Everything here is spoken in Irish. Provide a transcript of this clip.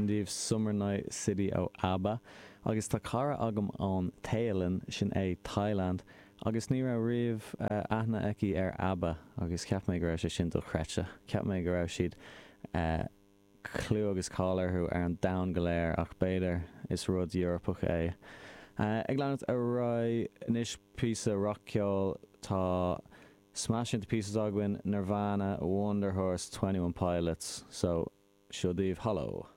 Sin daoibh Summer Night City ó ABBA. Agus tá cara agam ón Téalainn, sin é Thailand, agus ní raibh riamh aithne aici ar ABBA agus cheap mé go raibh sé sin dochreidte. Cheap mé go raibh siad clú agus cáil orthu ar an domhan go léir ach b'fhéidir is rud Eorpach é. Ag leanacht ar aghaidh anois píosa rac-cheoil tá Smash Into Pieces againn, Nirvana, Wunderhorse, 21 Pilots, so seo daoibh Hollow.